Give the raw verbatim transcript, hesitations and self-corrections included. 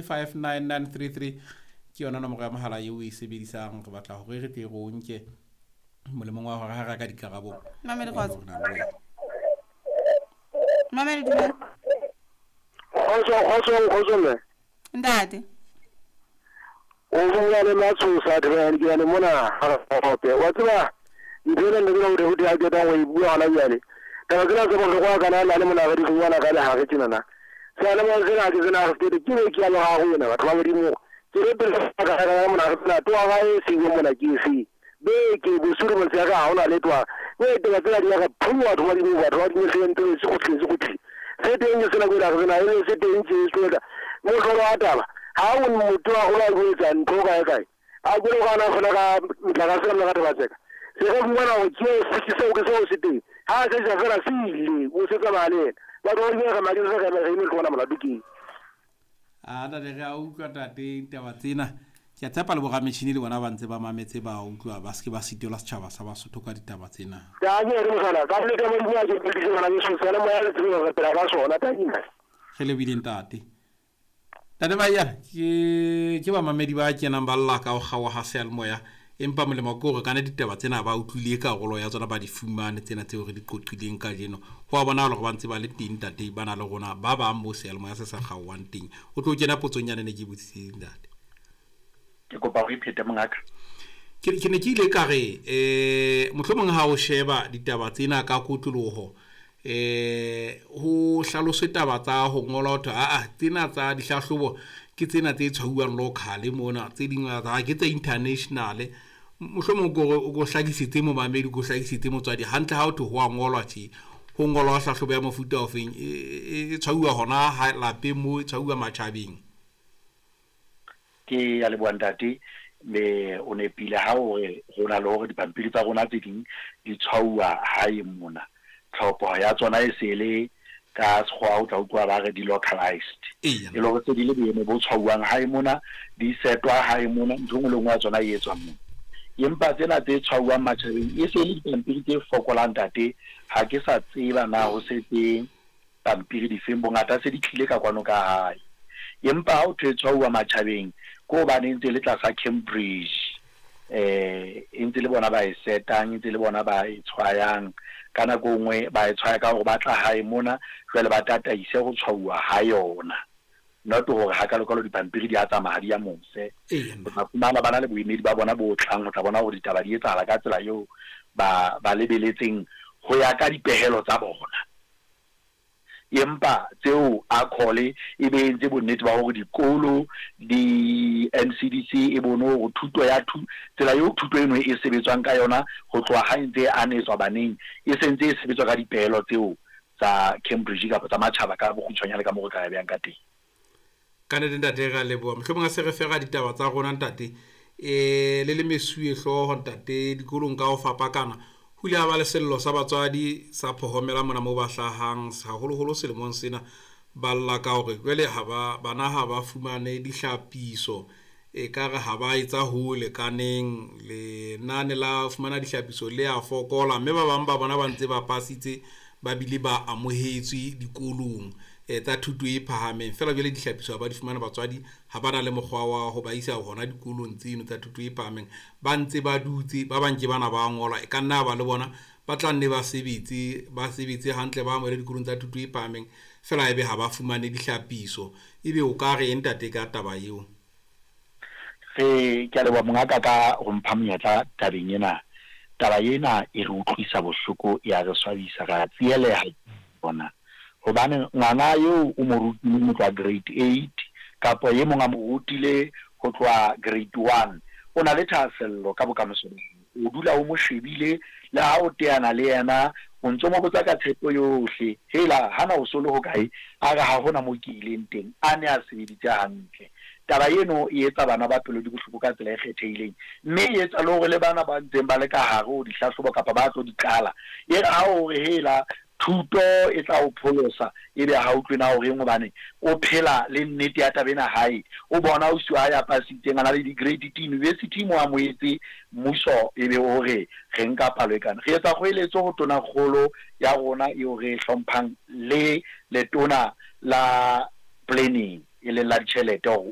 Five nine nine three three ke yona nomoro ya mohala eo o e sebedisang. Re batla hore re tle re o nke molemong wa hore ha re ka dikarabo. Mamele kgotso. Mamele, dumela. Kgotso, kgotso, kgotso mme. Ntate. O bua le Matshosa Adrian, ke yane mona gape. Wa tseba ntho ena nne ke hore ho di a ketang ho e bua hona jwale. Taba tsena tse bohlokwa kana la le mona re di fumana ka lehare tjenana. Seyalemoya sena ke sena re ke ke ke ya loga rona batho ba Modimo. Ke re pele ka ka ka mona re tsena toa ga e seng mona ke efe. Beke bosiu motshehare ha hona letho. Mme taba tsena di ya re phunwa batho ba Modimo, batho ba Modimo se ntse se kgutle se kgutle. Se teng ke sena ke la re sena e se teng tje se ka. Mohlolo wa taba ha o motho wa gola go etsa ntho kae kae. A ke lo gana fela ka motlakase ka mona ka taba tseka. Se re fumana hore ke se seo ke seo se teng. Ha se ja fela se ile o se tsamaya le yena. Batho ba Modimo re madi re re re eme tlona molato ke. A ntate, re a utlwa ntate taba tsena. Ke a tshepa le borametjhini le bona ba ntse ba mametse, ba utlwa, ba seke ba sitelwa setjhaba sa Basotho ka ditaba tsena. Ka ke re mogala ka le ka Modimo a ke ke bana beso seyalemoya le tsebe re phela ka sona tadima. Re lebile ntate. Ntate Maiyane, ke ke bamamedi ba kenang ba lla ka ho kgaoha ha seyalemoya, empa molemo ke hore kana ditaba tsena ba utlwile karolo ya tsona, ba di fumane tsena tseo re di qoqileng kajeno. Ho a bonahala hore ba ntse ba le teng ntate, ba na le rona ba bang moo seyalemoya se sa kgaohang teng. O tlo kena potsong yane ne ke botsitseng ntate. Ke kopa o iphete mongaka. Ke ke ne ke ile ka re eh mohlomong ha o sheba ditaba tsena ka kotloloho, eh ho hlaloswe taba tsa ho ngola ho thwe a a tsena tsa dihlahlobo ke tsena tse tshwauwang local mona, tse ding tsa ke tse international. Mohlomong ko o ko hlakisetse momamedi, ko hlakisetse motswadi hantle ha o thwe ho a ngolwa tje, ho ngolwa hlahlobo ya mofuta ofeng, e e tshwauwa hona ha lapeng moo, e tshwauwa matjhabeng. Ke ya leboha ntate, me o nepile ha o re ho na le hore dipampiri tsa rona tse ding di tshwauwa hae mona. Tlhopho ya tsona e se le ka sekgowa o tla utlwa ba re di localized. Eya. E le hore tse di le boemo bo tshwauwang hae mona, di setwa hae mona, ntho e nngwe le nngwe ya tsona e etswa mona. Empa tsena tse tshwauwang matjhabeng e se le dipampiri tse fokolang ntate, ha ke sa tseba na ho setse pampiri difeng, bongata se di tlile ka kwano ka hae. Empa ha o thwe tshwauwa matjhabeng ke hobane e ntse le tlasa Cambridge, eh e ntse le bona ba e setang, e ntse le bona ba e tshwayang. Ka nako e nngwe ba e tshwaya ka hore ba tla hae mona, jwale ba tataise ho tshwauwa ha yona. Not hore hakalokalo dipampiri di a tsamaya ha di ya mose. Eya. O tla fumana ba na le boemedi ba bona bo tlang ho tla bona hore ditaba di etsahala ka tsela eo ba ba lebeletseng ho ya ka dipehelo tsa bona. Empa tseo a khole e be entse bonnete ba hore dikolo di N C D C e bone hore thuto ya thu, tsela eo thuto eno e sebetswang ka yona ho tloha ha e ntse e anetswa baneng, e sentse e sebetswa ka dipehelo tseo tsa Cambridge kapa tsa matjhaba ka bokgutshwanyane ka moo re ka ya behang ka teng. Ka nnete ntate re a leboha. Mohlomong a se re fera ditaba tsa rona ntate, eh le le mesuwe hlooho ntate dikolong ka ho fapakana. Ho ile ha ba le sello sa batswadi sa phohomela mona moo ba hlahang, haholoholo selemong sena, ba lla ka hore jwale ha ba, bana ha ba fumane dihlapiso, ekare ha ba etsa ho lekaneng, lenane la fumana dihlapiso le a fokola, mme ba bang ba bona ba ntse ba pasitse ba bile ba amohetswe dikolong eh, tsa thuto e phahameng. Feela jwale dihlapiso ha ba di fumana, batswadi ha ba na le mokgwa wa ho ba isa hona dikolong tseno tsa thuto e phahameng, ba ntse ba dutse, ba bang ke bana ba ngola, e ka nna ba le bona ba tla nne ba sebetse, ba sebetse hantle, ba amohele dikolong tsa thuto e phahameng, feela ebe ha ba fumane dihlapiso. Ebe o ka re eng ntate ka taba eo? Re ke a leboha mongaka ka ho mpha monyetla tabeng ena. Taba ena e re utlwisa bohloko, ya re swabisa, ra tsieleha bona. Hobane ngwana eo o mo rutile ho tloha grade eight kapa e mong a mo rutile ho tloha grade one, o na le thahasello ka bokamoso ba hae. O dula o mo shebile, le ha o teana le yena o ntso mo botsa ka tshepo yohle, hela hana o so le hokae, a re ha hona mo ke ileng teng, a ne a sebeditse hantle. Taba eno e etsa bana ba pelo di bohloko ka tsela e kgethehileng, mme e etsa le hore le bana ba ntseng ba le ka hare ho dihlahlobo kapa ba tlo di qala, e re ha o re hela thuto e tla o pholosa, ebe ha utlwe na horeng, hobane o phela le nnete ya taba ena hae. O bona ausi wa hae a pasitseng, a na le di-grade T university mo amohetse mmuso, ebe o re re nka palo e kana. Re etsa kgoeletso ho tonakgolo ya rona eo re e hlomphang le letona la planning e leng la ditjhelete hore